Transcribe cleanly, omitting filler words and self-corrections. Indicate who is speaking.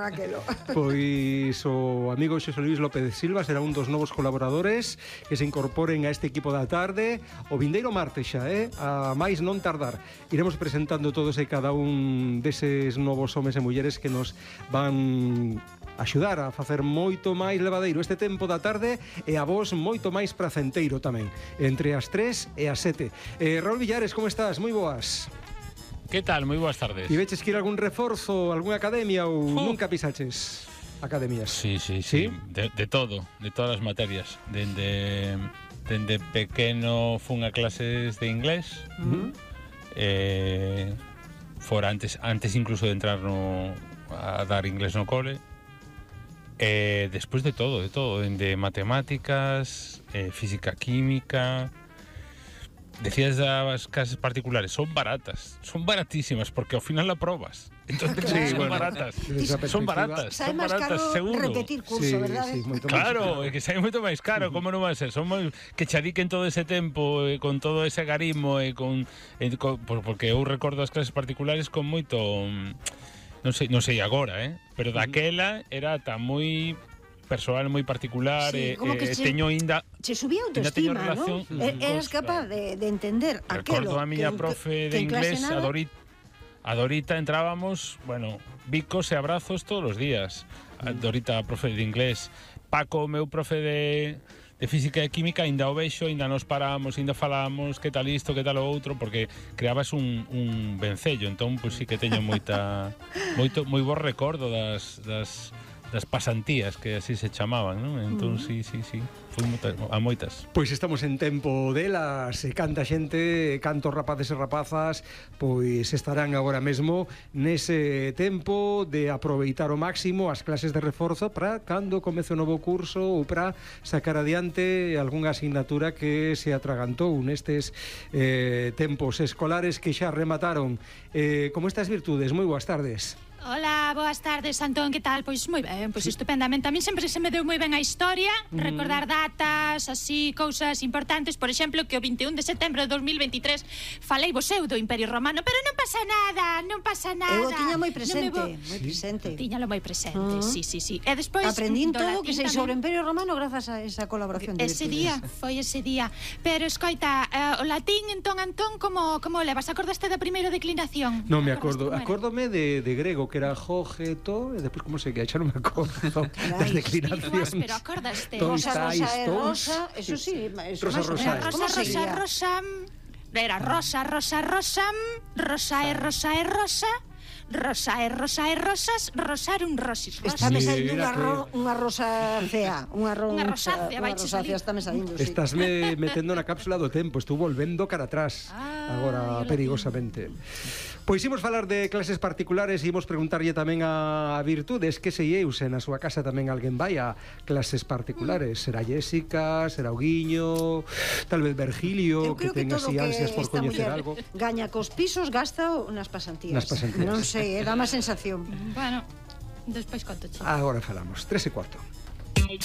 Speaker 1: Aquelo.
Speaker 2: Pois o amigo Xosé Luís López Silva será un dos novos colaboradores que se incorporen a este equipo da tarde o vindeiro martes xa, a máis non tardar. Iremos presentando todos e cada un deses novos homes e mulleres que nos van axudar a facer moito máis levadeiro este tempo da tarde e a vos moito máis pracenteiro tamén, entre as 3 e as 7. Raúl Villares, como estás? Moi boas.
Speaker 3: ¿Qué tal? Moi boas tardes.
Speaker 2: E veches que ir a algún reforzo, algunha academia ou nunca pisaches academias?
Speaker 3: Sí. De todo, de todas as materias. Dende pequeno fun a clases de inglés. Fora antes incluso de entrar a dar inglés no cole. Despois de todo, dende matemáticas, física, química. Decías das clases particulares, son baratísimas porque ao final la probas. Entonces
Speaker 2: sí,
Speaker 3: son
Speaker 2: bueno,
Speaker 3: baratas.
Speaker 2: Son
Speaker 3: baratas, seguro.
Speaker 1: Repetir curso, verdade?
Speaker 2: Sí, moito
Speaker 3: claro,
Speaker 2: máis
Speaker 3: é que sai moito máis caro, como non vai ser? Son moi que che adiquen todo ese tempo con todo ese agarimo porque eu recordo as clases particulares con moito non sei agora, pero daquela era tan moi persoal moi particular,
Speaker 1: sí,
Speaker 3: teño ainda
Speaker 1: se subía autoestima,
Speaker 3: relación,
Speaker 1: ¿no? Eras capaz de entender aquilo.
Speaker 3: Recordo a miña profe de inglés, a Dorita, entrábamos, bueno, bicos e abrazos todos os días. A Dorita, profe de inglés, Paco, meu profe de física e química, ainda o vexo, ainda nos paramos, ainda falamos, que tal isto, que tal o outro, porque creabas un vencello, entón, pois sí que teño moi bo recordo das pasantías, que así se chamaban, non? Entón, sí, foi a moitas.
Speaker 2: Pois estamos en tempo delas, e canta xente, cantos rapaces e rapazas, pois estarán agora mesmo nese tempo de aproveitar ao máximo as clases de reforzo para cando comece o novo curso ou para sacar adiante algunha asignatura que se atragantou nestes tempos escolares que xa remataron. Como estas virtudes? Moi boas tardes.
Speaker 4: Hola, boas tardes, Antón, que tal? Pois moi ben, pois estupendamente. A mí sempre se me deu moi ben a historia, recordar datas, así, cousas importantes. Por exemplo, que o 21 de setembro de 2023 falei vos eu do Imperio Romano, pero non pasa nada.
Speaker 1: Eu tiña moi presente,
Speaker 4: Tiñalo moi presente, sí. E despois
Speaker 1: aprendín todo que sei sobre o Imperio Romano grazas a esa colaboración de
Speaker 4: ese día. Pero escoita, o latín, entón, Antón, como levas? Acordaste da primeira declinación?
Speaker 2: Non me acordo, acórdome de grego, que era jogeto, e depois como se que xa non me acordo das declinacións.
Speaker 4: Pero acordaste.
Speaker 1: Rosa, eso sí.
Speaker 4: Rosa. Era rosa. Rosa e rosas, rosarum rosis.
Speaker 1: Está me saindo unha rosa cea. Unha
Speaker 4: rosácea,
Speaker 1: está me saindo, sí.
Speaker 2: Estás me metendo na cápsula do tempo, estou volvendo cara atrás, agora perigosamente. Pois imos falar de clases particulares e imos preguntarlle tamén a Virtudes que sei eu se na súa casa tamén alguén vai a clases particulares. Será Jéssica, será o Guiño, tal vez Virgilio, que ten así ansias por coñecer algo.
Speaker 1: Gaña cos pisos, gasta nas pasantías. Non sei, dá má sensación.
Speaker 4: Bueno, despois conto.
Speaker 2: Agora falamos, 3:15.